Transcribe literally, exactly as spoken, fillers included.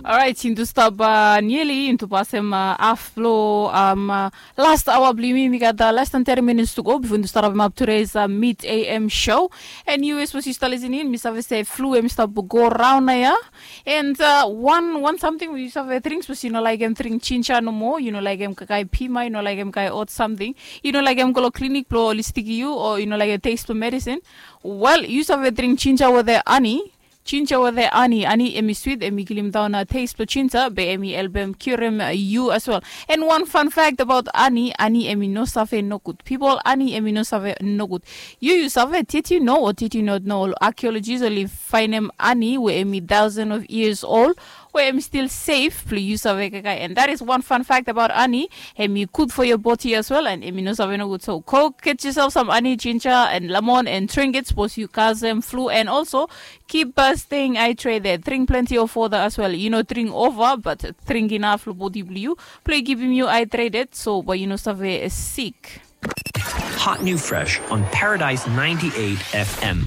Orait, yuntu stap nieli yuntu pasem haf blo last aoa blo yumi. Mi gat less than thirty minutes to go bifo yuntu stap rabem ap today's mid am show. And yu, sapos yu stap lisin in, mi save se flu em i stap go raon na ya. And wan wan samting we yu save dring, sapos yu no laekem dring jinja nomo, yu no laekem kaikai pima, yu no laekem kaikai ot samting, yu no laekem go long klinik blo oli stikim yu, o yu no laekem test blo medisin, wel, yu save dring jinja wetem ani. Jinja wetem ani, ani em i swit, em i kilimdaon test blo jinja, be em i helpem kiurem yu as wel. And wan fan fact abaot ani, ani em i no save nogud. Pipol, ani em i no save nogud. Yu, yu save, did you know or did you not know, ol arkeolojis oli faenem ani we em i thousand of years old, we em i stil sef blo yu save kaikai. And that is one fun fact abaot ani. Em i gud for your body as well, and em i no save nogud. So go get yourself some ani, jinja and lemon and drink it, sapos yu kasem flu. And also, keep staying hydrated, dring plenti of wota as well. Yu no dring ova, but dring inaf long bodi blo yu, blo i kipim yu hydrated, so bae yu no save sik. Hot new fresh on Paradise ninety-eight F M.